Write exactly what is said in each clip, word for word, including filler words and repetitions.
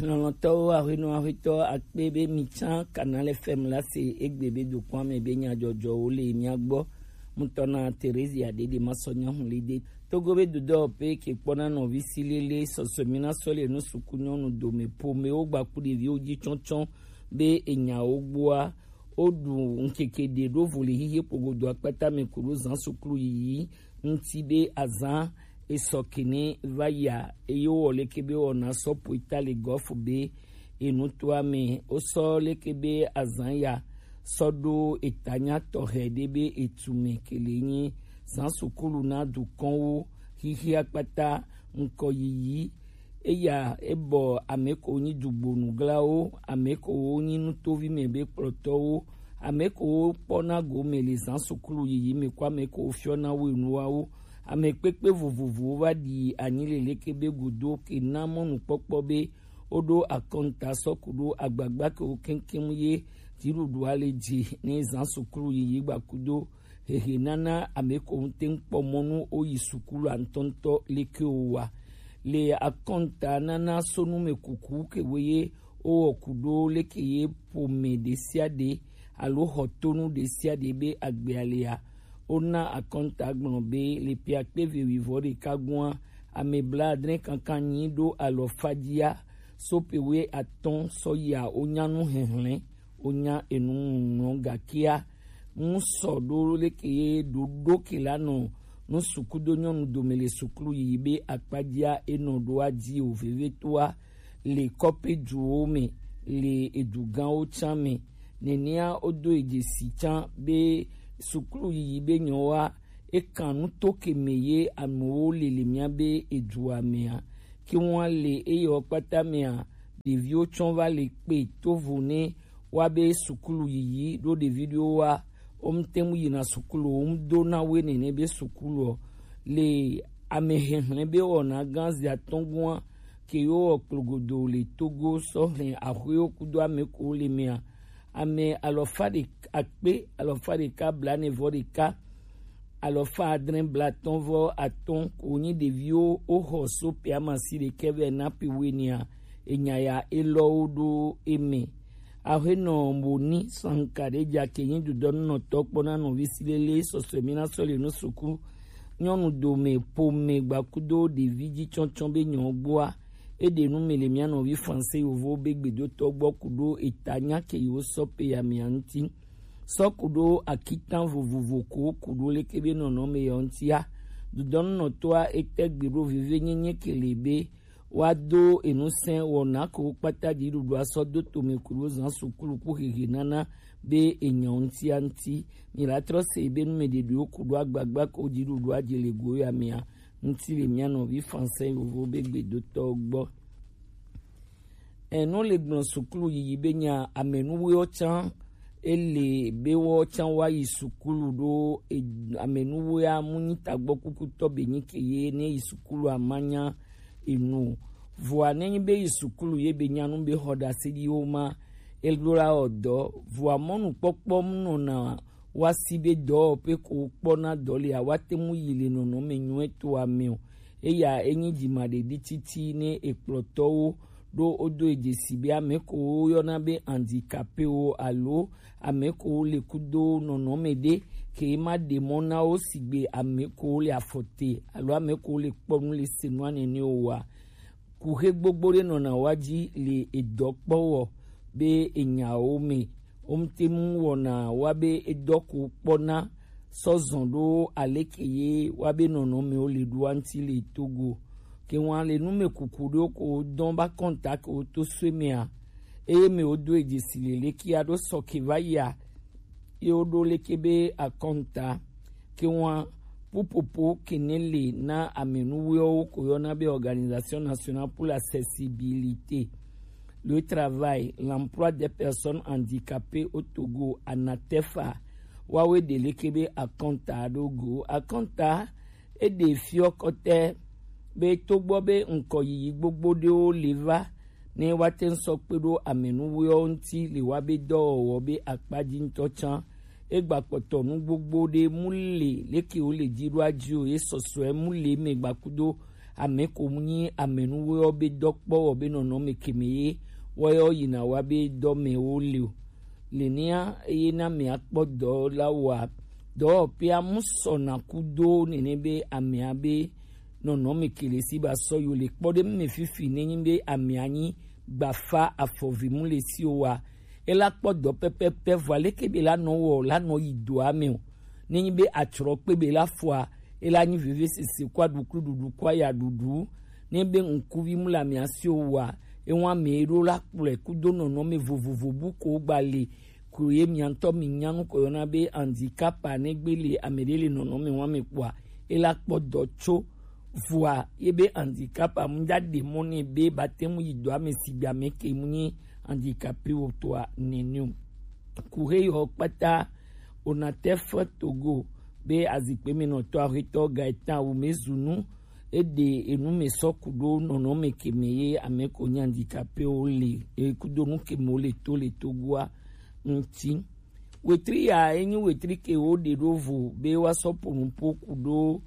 Lɔlɔ̃tɔwo, aƒenɔ aƒetɔ akpe be mi tsã Canal F M la se egbe be dokpɔa me be nyadzɔdzɔwo le mia gbɔ. Mutɔ na Theresia Dede Masɔ Nyahulide. Togo be dodɔ pe ke kpɔna nɔvi si lele sɔsɔmi na sɔ le nu suku nyɔnu dome pomewo gbaku ɖeviwo dzi tsɔtsɔ be enyawo gbɔa. Woɖu ŋkeke ɖe ɖo vo le xixi kpogodo akpata me ku ɖo zã suklu yiyi ŋuti be azã esɔ kene va yia, eye wowɔ leke be wɔna sɔ poita le gɔfu be enutoa me. Wosɔ leke be azã ya sɔ ɖo etanya tɔxɛ ɖe be etu me kele nyi zã sukulu na dukɔnwo xixi akpata ŋkɔ yiyi. Eya ebɔ ame ko nyi dugbonuglawo, ame ko wo nyi nutovi me be kplɔtɔwo, ame ko wo kpɔna gome le zã sukulu yiyi me ko ame ko wo fiɔna wo enuawo. Ame kpekpe vovovowo va ɖi anyi le leke be godo ke na mɔnukpɔkpɔ be woɖo akɔnta sɔ ku ɖo agbagba ke wo keŋkeŋ ye dziɖuɖua le dzi ne zã sukulu yiyi gbakudo hehe nana ame ko ŋute ŋkpɔ mɔnu woyi sukulu antɔntɔ leke o wa. Le akɔnta nana sonu me kuku ke wo ye wowɔ ku ɖo leke ye ƒome ɖe sia ɖe alo xɔtonu ɖe sia ɖe be agbea lea, wona akɔnta gblɔ be le ƒe akpe eve wuievɔ ɖeka gɔa, ame blaadre kankan nyi ɖo alɔfa dzia, so ƒe wuiatɔ̃ sɔ yia wonya nu hehlẽ, wonya enu ŋlɔ gakea ŋu sɔ ɖo leke ye ɖoɖo ke la nɔ nu sukudo nyɔnu dome le sukulu yiyi be akpadzia enɔ ɖoa dzi o vevetoa le kɔpe duwo me le edugãwo tsã me. Nenea wodo edze si tsã be sukulu yiyi be nyɔwoa ekan nuto ke me ye amewo le le mía be edua mea. Ke ŋua le eye wo kpata mea, ɖeviwo tsɔ va le kpe tovo ne wa be sukulu yiyi ɖo ɖevi ɖewo wa wo ŋute ŋu yina sukulu o, wo ŋu do na wo nene be sukulu o. Le ame hehlẽ be wɔna gã zi atɔ̃ gɔa ke yo wɔ kplogodo le Togo sɔ hlẽ axɔewo kudo ame ko le mea, ame alɔfa ɖeka akpe alɔfa ɖeka blaene vɔ ɖeka alɔfa adre blatɔ̃ vɔ atɔ̃ ko nyi ɖeviwo woxɔ so ƒe amasi ɖekɛ vɛ na ƒe wuienea, enya ya elɔwo ɖo eme. Aƒenɔ Moni Sanka ɖe dza ke nyi dudɔnunɔtɔ kpɔna nɔvi si lele sɔsɔe mi na sɔ le nu suku nyɔnu dome ƒome gbakudo ɖevi dzi tsɔtsɔ be nyɔ gbɔa. Eɖe nu me le mía nɔvi Franse yovo be gbedotɔ gbɔ ku ɖo eta nya ke yewo sɔ pe ya mea ŋuti. Sɔ ku ɖo akitan vovovo ko ku ɖo leke be nɔnɔme ya ŋutia. Dudɔnunɔtɔa ete gbe ɖo veve nyenye ke le be woado enusẽ wɔna ko kpata dziɖuɖua sɔ do tome ku ɖo zã sukulu ku hehe nana be enyɔ ŋutia ŋuti. Mi la trɔ se be nu me ɖeɖewo ku ɖo agbagba ko dziɖuɖua dze le go ya mea ŋuti le mía nɔvi Franse yovo be gbedotɔ gbɔ. Enu le gblɔ sukulu yiyi be nya amenuwoe tsã ele be wo tsã wa yi sukulu ɖo e-, amenuwoe amu nyi tagbɔ kukutɔ be nyi ke ye ne yi sukulu amanya enu. Vɔa ne nyi be yi sukulu ye be nya nu be xɔ ɖase ɖi wo ma, elo la ɔ dɔ. Vɔa mɔnukpɔkpɔ mu nɔna wa si be dɔwɔƒe ko kpɔna dɔ lea, woate ŋu yi le nɔnɔme nyuietɔa me o. Eya enyi dzimaɖeɖi titi ne ekplɔtɔwo ɖo wodo edzesi be ame ko woyɔna be handicapéwo alo ame ko le kudo nɔnɔme ɖe ke ma ɖe mɔ na wo sigbe ame ko le afɔ te alo ame ko le kpɔ nu le se nua nene o wa. Kuxe gbogbo ɖe nɔna wa dzi le edɔ kpɔ wɔ be enyawo me. Wo ŋute mu wɔna wa be edɔ ko kpɔna sɔ zɔn ɖo aleke ye wa be nɔnɔmewo le ɖoa ŋuti le Togo. Ke ŋua le nu me kuku ɖewo ko dɔn ba kɔnta ke wo to sue mea, eye me wo do edzesi le leke ya ɖo sɔ ke va yia, ye wo ɖo leke be akɔnta. Ke ŋua pupopo kene le na amenuwoewo ko yɔna be Organisation Nationale pour l'Accessibilité, le Travail, l'Emploi des Personnes Handicapées au Togo, ANATEFA, wawe ɖe leke be akɔnta ɖo go. Akɔnta eɖe fiɔ kɔtɛ be togbɔ be ŋkɔ yiyi gbogbo ɖewo le va ne woate ŋu sɔ kpe ɖo amenuwoewo ŋuti le wa be dɔwɔwɔ be akpa dzi ŋutɔ tsã. Egba kpɔtɔ nu gbogbo ɖe mu le leke wo le dzi ɖo adzi o, ye sɔsɔe mu le me gbakudo Ame ko mu nyi amenuwe ɔ be dɔ kpɔ wɔ be nɔnɔme keme ye wɔ yɔ yina wa be dɔ me wo le o. Le nia eye na me akpɔ dɔ la wa dɔ pe amu sɔ na ku do nene be amea be nɔnɔme kele si ba sɔ yo le kpɔ ɖe me fifi ne nyi be amea nyi gbafa afɔvi mu le si o wa. Ela kpɔ dɔ pɛpɛpɛ vɔ aleke be la nɔ wɔ la nɔ yi doa me o. Ne nyi be atsrɔ kpe be la fɔa ela nyi veve sese kɔ aɖuklu ɖuɖu kɔ aya ɖuɖu. Ne be ŋkuvi mu le amea si o wa ewa me ɖo la kplɔe kudo nɔnɔme vovovo bu ko gba le ko ye miantɔ mi nyanu ko yɔna be handicap ne gbe le ame ɖe le nɔnɔme wa me kpɔa ela kpɔ dɔ tso vɔa ye be handicap amu ja ɖe mɔ ne be ba te mu yi dɔ ame si be ame ke mu nyi handicapé o toa nene o. Kuhe yɔ kpata Onatef Togo be azikpe me nɔtɔ ahetɔ Gaetan Wumezunu eɖe enu me sɔ ku ɖo nɔnɔme keme ye ame ko nyi handicapé o le ekudo nu keme o le to le Togoa ŋuti. Wetri ya enyi wetri ke wo ɖe ɖo vo be wa sɔ po nupo ku ɖo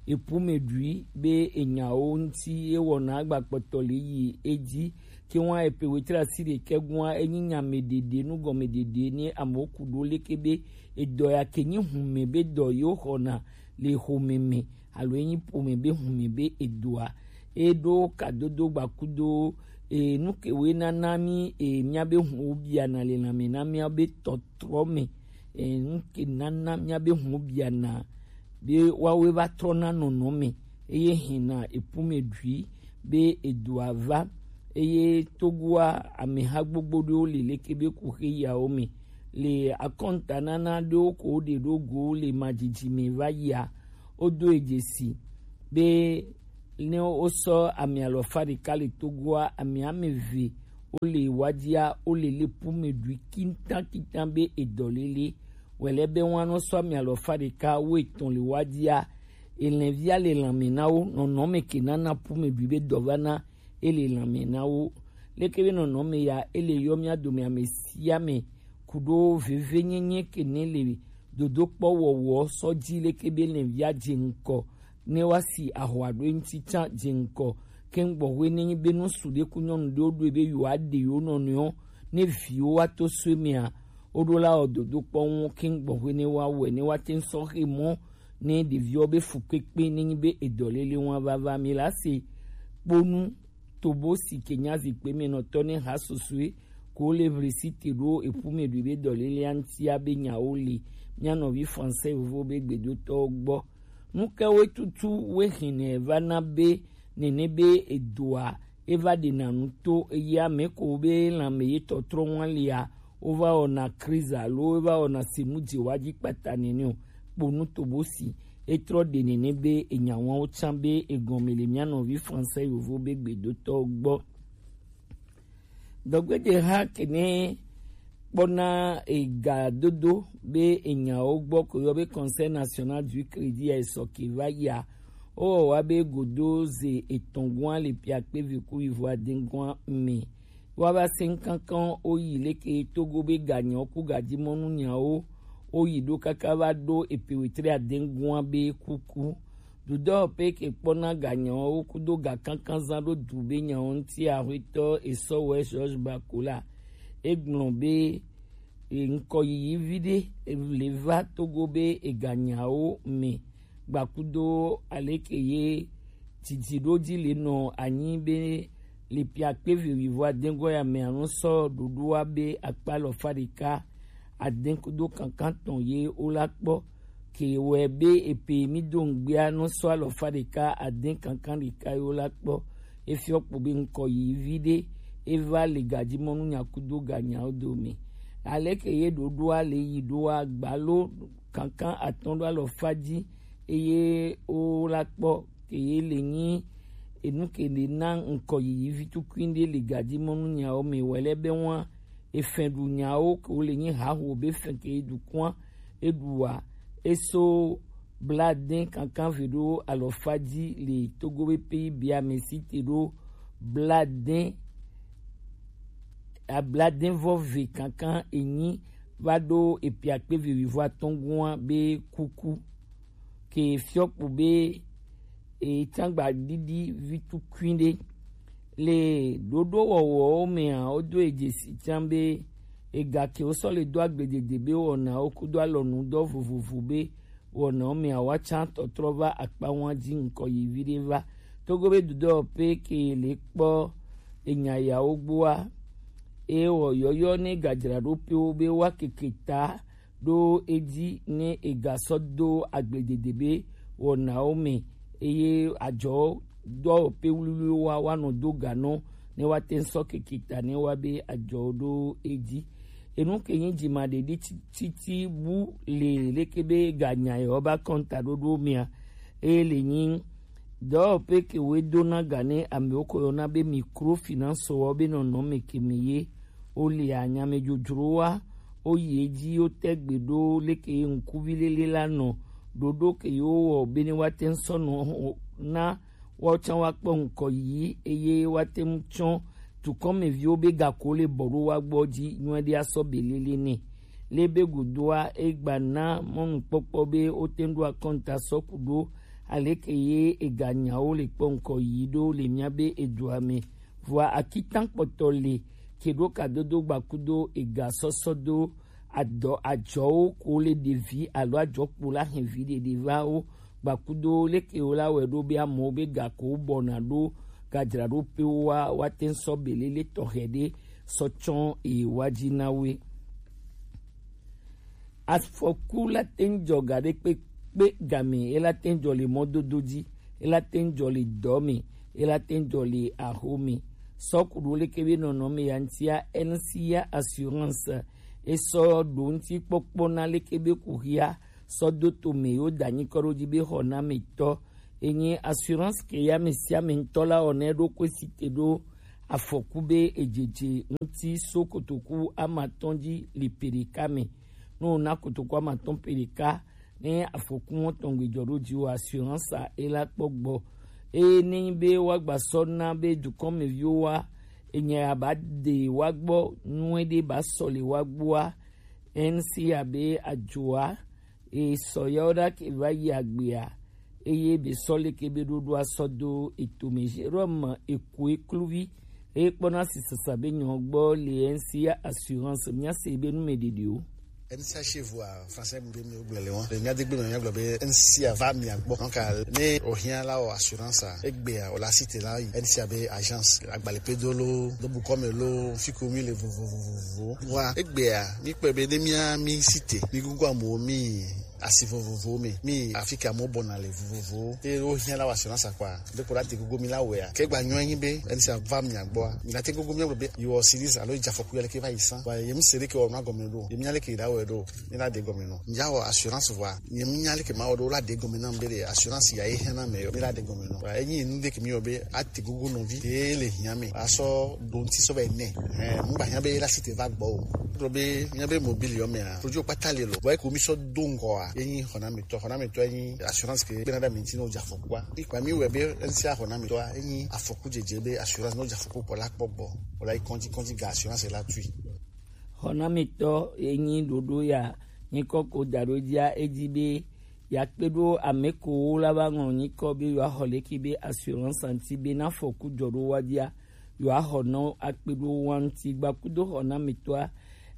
epu me ɖui be enyawo ŋuti ye wɔna agba kpɔtɔ le yi edzi ke wa epe wetri asi ɖekɛ gua enyi nya me ɖeɖe nu gɔme ɖeɖe ne amewo ku ɖo leke be edɔ ya ke nyi hume be dɔ yewo xɔna le xome me alo enyi ƒome be hume be edoa eɖo kadodo gbakudo e nu ke woe nana mi e mía be huwo biana le lãme na mía be tɔtrɔ me e nu ke nana mía be huwo biana be woawoe va trɔna nɔnɔme eye hɛna epu me ɖui be edoa va eye Togoa ameha gbogbo ɖewo le leke be kuxe yawo me le akɔntanana ɖewo ko woɖe ɖo go le madzidzi me va yia wodo e dzesi be ne wosɔ ame alɔfa ɖeka le Togoa ame ame eve wole wadzia wole le pu me ɖui kintankintan be edɔlele wɛlɛ be wọn nɔ sɔ ame alɔfa ɖeka wo etɔn le wadzia elɛvia le lãme na wo nɔnɔme ke nana pu me ɖui be dɔ va na ele lãme na wo leke be nɔnɔme ya ele yɔ mía dome ame sia ame ku ɖo vevenyenye ke ne le dodokpɔ wɔwɔ sɔ dzi leke be lɛvia dze ŋkɔ ne wa si ahɔa ɖo eŋuti tsã dze ŋkɔ ke ŋgbɔxwe ne nyi be nu su ɖe ku nyɔnu ɖewo ɖoe be yewoa ɖe yewo nɔnɔewo ne viwo wa to soe mea woɖo la wɔ dodokpɔ ŋu ke ŋgbɔxwe ne wa wɔe ne wa te ŋu sɔ xe mɔ ne ɖeviwo be fukpekpe ne nyi be edɔlele ŋua vava mi la se kponu tobo si ke nya zikpe me nɔtɔ ne ha susue ko le vlisi te ɖo eƒu me ɖui be dɔlelea ŋutia be nyawo le mía nɔvi français vovo be gbedotɔwo gbɔ. Nu ke woe tutu woe hɛnɛ va na be nene be edoa eva ɖena nu to eye ame ko be lãme ye tɔtrɔ ŋua lia wova wɔna kriza alo wova wɔna senu dzewa dzi kpata nene o kponu tobo si etrɔ ɖe nene be enyawawo tsã be egɔme le mía nɔvi français yovo be gbedotɔwo gbɔ. Dɔgbedze ha kene kpɔna ega dodo be enyawo gbɔ ko yɔ be Conseil National du Crédit ya esɔ ke va yia wowɔ wa be godo ze etɔn gua le pia kpe vi ku yivo aden gua me wa va se kankan wo yi leke Togo be ganyawo ku gadimɔnu nyawo wo yi ɖo kaka va ɖo epe wetre aden gua be kuku. Dudɔ pe ke kpɔna ganyawo kudo ga kankan zan ɖo du be nyawo ŋuti ahwetɔ esɔ wɛ George Bakola egblɔ be ŋkɔ yiyi vi ɖe le va Togo be eganyawo me gbakudo aleke ye didi ɖo dzi le nɔ anyi be le pia kpe vi wivo aden gɔ ya me anu sɔ ɖoɖoa be akpa lɔfa ɖeka aden kudo kankan tɔn ye wo la kpɔ ke wɛ be epe mi do ŋgbea nɔ sɔ alɔfa ɖeka aden kankan ɖeka ye wo la kpɔ efiɔ kpo be ŋkɔ yi vi ɖe eva le gadimɔnu nyakudo ganyawo dome aleke ye ɖoɖoa le yi ɖoa gbalo kankan atɔn ɖo alɔfa dzi eye wo la kpɔ ke ye le nyi enu ke le na ŋkɔ yiyi vi tukui ɖe le gadimɔnu nyawo me wɛ lɛ be wa efɛn ɖu nyawo ke wo le nyi haho be fɛn ke ye ɖu kua eɖua eso bladen kankan ve ɖo alɔfa dzi le Togo be P I B a me si te ɖo bladen abladen vɔ ve kankan enyi va ɖo epe akpe ve wivo atɔn gua be kuku ke fiɔ kpo be e can gba ɖiɖi vi tukuin ɖe. Le ɖoɖo wɔwɔwo mea, wodo e dzesi can be ega ke wosɔ le do agbledede be wɔnawo kudo alɔnudɔ vovovo be wɔnawo mea, woatsã tɔtrɔ va akpa ŋua dzi ŋkɔ yi viɖe va. Togo be dudɔ pe ke le kpɔ enya yawo gbɔa, eye wɔ yɔyɔ ne gadzraɖoƒewo be woakeke ta ɖo edzi ne egasɔ do agbledede be wɔnawo me, eye adzɔ dɔwɔƒe wluwluiwo wa woanɔ do ganɔ ne woate ŋu sɔ keke ta ne woa be adzɔwo ɖo edzi. Enu ke nyi dzimaɖeɖi ti- titi bu le leke be ganya yewo ba kɔnta ɖoɖo mea, eye le nyi dɔwɔƒe ke woe dona ga ne amewo ko yɔna be microfinance wɔ be nɔnɔme ke me ye wole anyamedzodzrowa woyi edzi wotɛ gbe ɖo leke ye ŋkuvi lele la nɔ ɖoɖo ke yewo wɔ be ne woate ŋu sɔ nɔ na woawo tsã woakpɔ ŋkɔ yiyi eye woate ŋu tsɔ dukɔmeviwo be gako le bɔ ɖo woa gbɔ dzi nyuie ɖe asɔ be lele nɛ. Le be godoa, egba na mɔnukpɔkpɔ be wote ŋu ɖo akɔnta sɔ ku ɖo aleke ye eganyawo le kpɔ ŋkɔ yiyi ɖo le mía be edua me. Vɔa akitan kpɔtɔ le ke ɖo kadodo gbakudo egasɔsɔ do adɔ adzɔwo ko le ɖevi alo adzɔkpo la hɛn vi ɖeɖe va wo gbakudo leke wo la wɛ ɖo be amewo be gako bɔna ɖo gadzraɖoƒewo wa woate ŋu sɔ belele tɔxɛ ɖe sɔ tsɔ ewa dzi na woe. Afɔku la te ŋu dzɔ ga ɖe kpekpe game, e la te ŋu dzɔ le mɔdodo dzi, e la te ŋu dzɔ le dɔ me, e la te ŋu dzɔ le axo me. Sɔ ku ɖo leke be nɔnɔme ya ŋutia, N C A Assurance e sɔ ɖo ŋuti kpɔkpɔ na leke be kuxia sɔ do to me yewo da nyikɔ ɖo dzi be xɔnametɔ. Enye assurance ke ya ame sia ame ŋutɔ la wɔ ne ɖo kwe si te ɖo afɔku be edzedze ŋuti so kotoku amatɔn dzi li peɖeka me. Ne wona kotoku amatɔn peɖeka, ne afɔku mɔtɔn gbe dzɔ ɖo dzi o, assurance a e la kpɔ gbɔ. Eye ne nyi be woagba sɔ na be dukɔmeviwo wa, enya ya ba de wa gbɔ, nue ɖe ba sɔ le wa gbɔa, N C A be adzoa, e sɔ yawo ɖa ke va yi agbea, eye be sɔ leke be ɖoɖoa sɔ do etome. Jérôme Ekoe kluvi eye kpɔna sisasa be nyɔ gbɔ le N C A Assurance, mía se be nu me ɖeɖewo. N C A chez vous a français be mi gblɔ le wɔn. Le mía de gbe me mía gblɔ be N C A va mia gbɔ. Donc ne o hiã la o assurance a, egbea o la cité la yi N C A be agence, agbalẽ pe do lo, do bukɔ me lo, fi ko mi le vovovovo. Wa egbea mi kpɔe be ne mía mi cité, mi gugu amewo mi asi vovovowo me, mi afi ke amewo bɔna le vovovowo. Eye wohiã la wɔ assurance kpɔa, be ko la te gogo mi la wɔea. Ke gba nyɔ enyi be N C A va mia gbɔa, mi la te gogo mi gblɔ be yewo series alo dze afɔku ya leke va yi sã. Wa ye mi se ɖe ke wɔ nua gɔme ɖo. Ye mi nya leke yi la wɔe ɖo. Mi la ɖe gɔme nɔ. Mi ya wɔ assurance vɔa, ye mi nya leke ma wɔ ɖo la ɖe gɔme na mi be ɖe assurance ya ye hiã na me yɔ. Mi la ɖe gɔme nɔ. Wa enyi nu ɖe ke mi yɔ be ate gogo nɔvi te le hiã me. Asɔ ɖo ŋuti sɔ va yi nɛ. Ɛ, mu gba hiã be la cité va gbɔ o. Gblɔ be mía be mobile yɔ mea, produit kpata le lo. Vɔ eko mi sɔ do ŋgɔa, enyi xɔnametɔ, xɔnametɔ enyi assurance ke gbena ɖe mi ŋuti ne wodze afɔkua. Ikpa mi wɛ be N C A xɔnametɔa, enyi afɔku dzedze be assurance ne wodze afɔku kpɔ la kpɔ gbɔ. Wòla yi kɔndzi, kɔndzi ga assurance la tui. Xɔnametɔ enyi ɖoɖo ya, nyikɔ ko da ɖo dzia, edzi be ya kpe ɖo ame kowo la va ŋlɔ nyikɔ be yewoaxɔ leke be assurance ŋuti be na afɔku dzɔ ɖo wa dzia, yewoaxɔ nɔ akpe ɖo wa ŋuti gbakudo xɔnametɔa.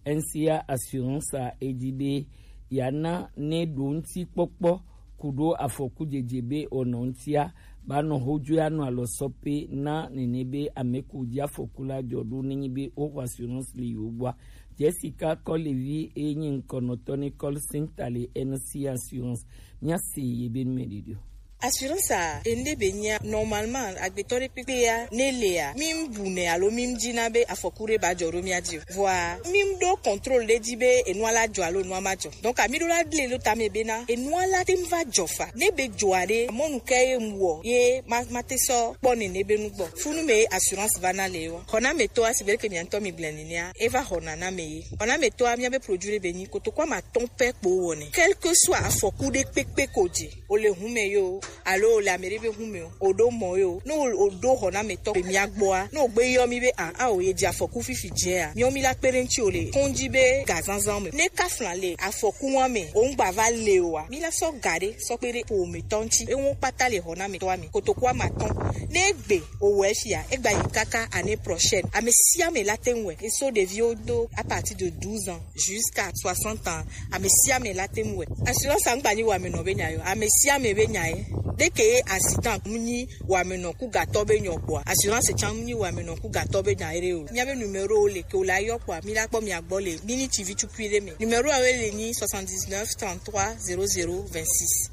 N C A Assurance a edzi be yeana ne ɖo ŋuti kpɔkpɔ ku ɖo afɔku dzedze be wònɔ ŋutia, ba nɔ hodzo ya nɔ alɔ sɔ pe na nene be ame ko dzi afɔku la dzɔ ɖo nenyi be woxɔ assurance le yewo gbɔa. Jessica Kɔlevi eye nyi ŋkɔnɔtɔ ne call center le N C A Assurance. Mía se ye be nu me ɖeɖe o. Assurance a, ende be nyia, normalement, agbetɔ ɖe kpekpe ya, ne lea, mi bu nɛ alo mi dzi na be afɔku ɖe ba dzɔ ɖo mía dzi o. Vɔa, mi ɖo contrôle ɖe dzi be enua la dzɔ alo enua ma dzɔ. Donc, ami ɖo la gle ɖo tame be na, enua la te va dzɔ fa. Ne be dzɔa ɖe, mɔnu ke ye mu wɔ, ye ma, ma te sɔ kpɔ nene be nu gbɔ. Funu me assurance va na le wa. Xɔnametɔa, si be ke mia ŋutɔ mi gblẽ nenia, eva xɔna na me ye. Xɔnametɔa, mía be produit ɖe be nyi, kotoku ama tɔn pɛ kpo wɔ nɛ. Quel que soit afɔku ɖe kpekpe ko dzi, o le hun me yo, alo o le ame ɖe be hun me o, o ɖo mɔ ye o, ne o ɖo xɔnametɔ be mía gbɔa, ne o gbe yɔ mí be a a o ye dze afɔku fifi dzea, míɔ mí la kpe ɖe ŋuti o le kɔn dzi be gazanzan me. Ne kafla le afɔku wa me, o ŋgba va le oa, mí la sɔ ga ɖe sɔ kpe ɖe ƒometɔ ŋuti. Ewo kpata le xɔnametɔa me. Kotoku ame atɔ̃. Ne egbe o wɔ efia, egba yi kaka année prochaine. Ame sia ame la te ŋu wɛ. Eso ɖeviwo do à partir de douze ans jusqu'à soixante ans. Ame sia ame la te ŋu wɛ. Assurance a ŋgba nyi wamenɔ be nya yo. Ame sia ame be nya ye. Ɖeke ye accident mu nyi wamenɔ ku gatɔ be nyɔ kpɔa, assurance tsan mu nyi wamenɔ ku gatɔ be nya ye ɖe o. Mía be numéro le ke o la yɔ kpɔa, mí la kpɔ mía gbɔ le miniti vi tukui ɖe me. Numéro awe le nyi soixante-dix-neuf trente-trois zéro zéro vingt-six.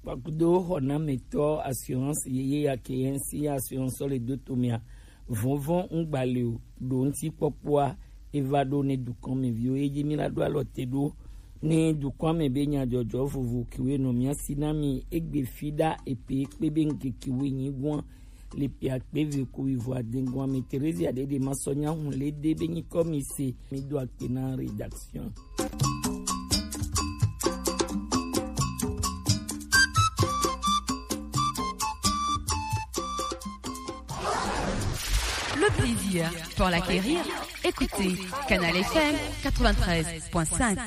Kpakudo xɔnametɔ assurance yeye ya ke ye ŋsi assurance le do to mia. Vɔvɔ̃ ŋgba le o, ɖo ŋuti kpɔkpɔa eva ɖo ne dukɔn me viwo. Ye dzi mi la ɖo alɔ te ɖo ne dukɔn me be nyadzɔdzɔ vovo kiwe nɔ mia si na mi egbe fi ɖa epe kpe be ŋkeke we nyi gɔn le pia kpe ve ku ivo adengon ame Theresia ɖe ɖe ma sɔ nya hun le de be nyikɔ mi se mi do akpe na rédaction. Le plaisir pour l'acquérir, écoutez Canal F M quatre-vingt-treize point cinq.